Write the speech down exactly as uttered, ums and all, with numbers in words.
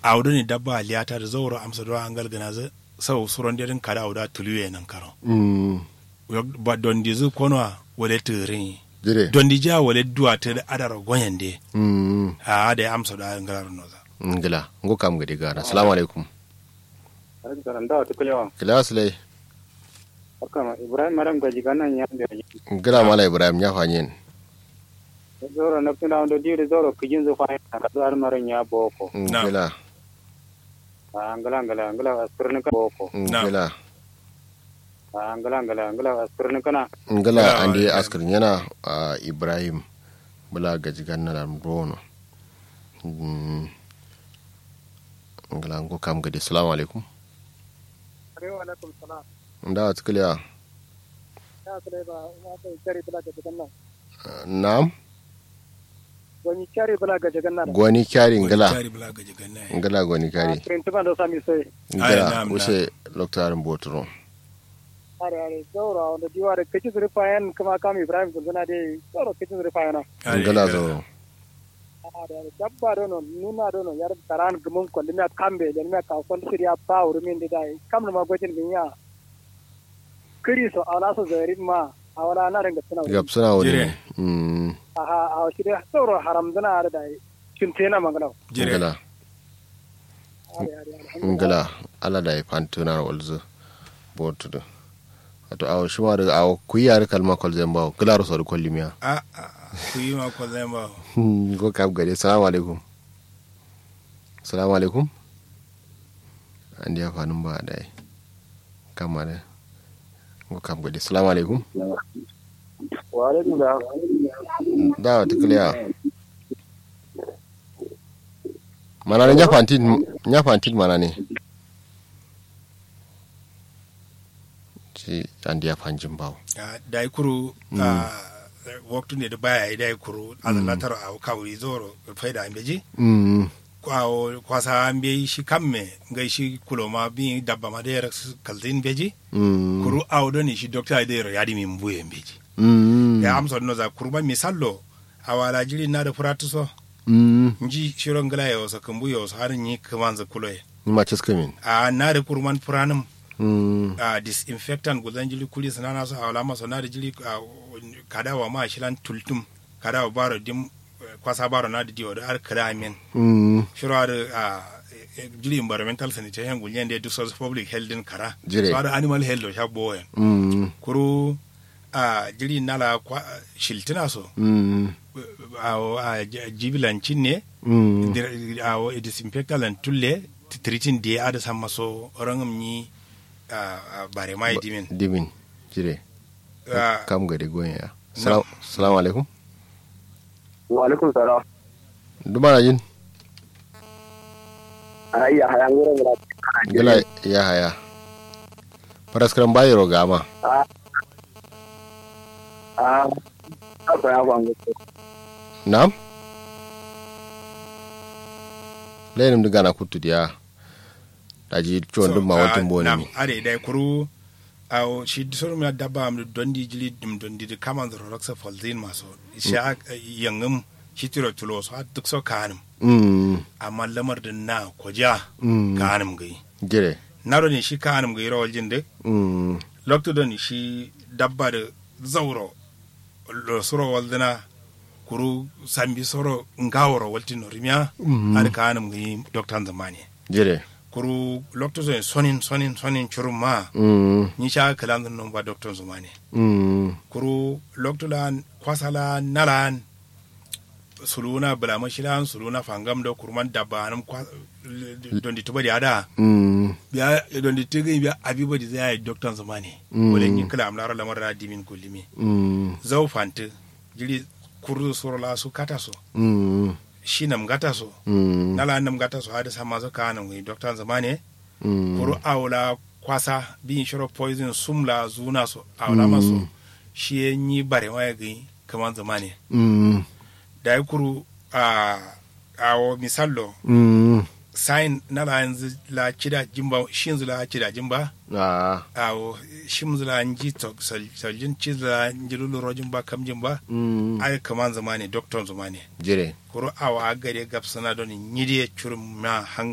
Awo done dabba liyata dǝ zauro amsa do angal gǝnazǝ. Sau suron dedǝn kada awo da tuluye nankaro. Dondizǝ konowa wale tǝgǝrin yi. Dondiji a wale duwatǝ dǝ adaro gonyen de. Ahh dai amsa do angal gǝnazǝ. Ngla. Ngo kam gade gana salamu alaikum. Kǝla sǝlai. Ngla mala ibrahim nya fanyen. Zauro nafsǝna wando diwuri zauro kǝjinzǝ fanyen na kaduwa dǝ maro nya boko. Ngla. Ahh ngla ngla ngla askǝrnǝ kǝna boko. Ngla. Ahh ngla ngla ngla askǝrnǝ kǝna. Ngla ande askǝrnyena. Ahh ibrahim bǝla gajiganna lan bono. Ngla ngo kam gade salamu alaikum. Ndawa tǝ kǝlewa. Na'am. Goni kyari bǝla gaje ganna. Goni kyari ngla. Ngla goni kyari. Kirintiman do sami sai. Ngla use loktarin boturo. Are are zauro a wando diwa da kaci suri fayan kuma kam ibrahim gulzuna de zauro kaci suri fayana. Ngla zauro. Are are dabba dono nuna dono yar karan gumun kollimiya kambe lenmiya kawson siriya ba wurumin de dai kam numa gojin ginya. Kǝri so awala so zarin ma awala na dǝ ngapsǝna wuri. Ngapsǝna wuri. Ahh awo shi dai zauro haramzǝna adǝ dai. Cintena mangǝnau. Ngla. Ngla. Ala dai fantǝna walzǝ. Botudǝ. Wato awo shima dǝ awo kuyi adǝ kalma kolzai mbawo ngla ro so dǝ kollimiya. Ahh kuyi ma kolzai mbawo. Ngo kam gade salamu alaikum. Salamu alaikum. Andeya fanǝm ba dai. Kamma dǝ. Ngo kam gade salamu alaikum. Wa'alaikum salam. Dawa tǝ kǝlewa. Manane nya fantin. Nya fantin manane. Shi andeya fanjin bawo. Dai kuru. Ahh waktu ne dǝ baya yayi dai kuru azalla taro awo kawuri zauro. Faida mbeji. Awo kwasa mbeyi shi kamme ngai shi kuloma biyi dabba ma dai raksǝ kalzin mbeji. Kuru awo done shi dokta dai ro yadǝ min buye mbeji. Ya amso dǝ noza kuruma misallo. Awala jiɍi nadǝ fǝratǝ so. Nji shiro ngǝla yewo so kǝmbu yewo so adǝ nyi kǝmanzǝ kuloye. Nyi ma cǝskǝmin. Ahh nadǝ kuruman fǝranǝm. Ahh disinfectant gulzan jiɍi kuri sǝnana so awalama so nadǝ jiɍi. Kada wama shilan tultǝm. Kada wa baro dim. Kwasa baro nadǝ diwo dǝ adǝ kǝla amen. Shiro adǝ ahh jiɍi environmental sanitation gulnyen de duk so public health dǝn kara. So adǝ animal health do sha bowoyen. Kuru ahh jiɍi nala kwa shiltǝna so. Awo ahh jibilan cinne. Awo disinfectant lan tulle. Tǝtǝritin diye adǝ samma so rangǝm nyi. Ahh barema ye dimin. Dimin. Jire. Kam gade goyen ya. Salamu alaikum. Wa'alaikum salam. Duma najin. Ahh yahaya nguro nguro. Ngla yahaya. Faraskǝram bayiro gama. Ahh ahh. Na'am. Lainǝm dǝ gana kuttu diya. Daji cuwon dǝm ma waltǝn bone mi. Adǝ ye dai kuru. Awo shi dǝ soro miya dabba am dǝ dondi jiɍi dǝm dondi dǝ kamanzǝ ro raksa falzǝ yin ma so. Shi a yangǝm shi tiro tulo so har duk so kaanǝm. Amma lamar dǝ na koja kaanǝm gǝyi. Jire. Na done shi kaanǝm gǝyi ro waljin dǝ. Loktu done shi dabba dǝ zauro. Losuro walzǝna. Kuru sambi soro ngaworo waltino rimiya. Adǝ kaanǝm gǝyi doktanzǝ mane. Jire. Kuru loktu sonin sonin sonin sonin curumma. Nyi sha kǝlanzǝ nomba doktanzǝ mane. Kuru loktu la'an kwasa la'an na la'an. Suluwuna bǝlamashi la'an suluwuna fangam do kuruman dabba anǝm kwa. Dondi tǝbadi ada. Biya dondi tǝgǝyi biya abi badi zai yayi doktanzǝ mane. Wale nyi kǝla am laro lamar da dimin kullimi. Zau fantǝ. Jiɍi kurdu suro la su kata so. Shi nam ngata so. Na la nam ngata so adǝ samma so kaanǝm gǝyi doktanzǝ mane. Kuru awo la kwasa biyin shiro poison sum la zuna so awo la ma so. Shi ye nyi barema ye gǝyi kǝmanzǝ mane. Dayi kuru ahh awo misallo. Sayin na la yanzǝ la cida jimba shinzǝ la cida jimba. Ahh awo shimzǝ la nji soljin cinzǝ la nji lullu rojin ba kamjin ba. Adǝ kǝmanzǝ mane doktonzǝ mane. Jire. Kuru awo agade gabsǝna done nyi diye curumma hanga.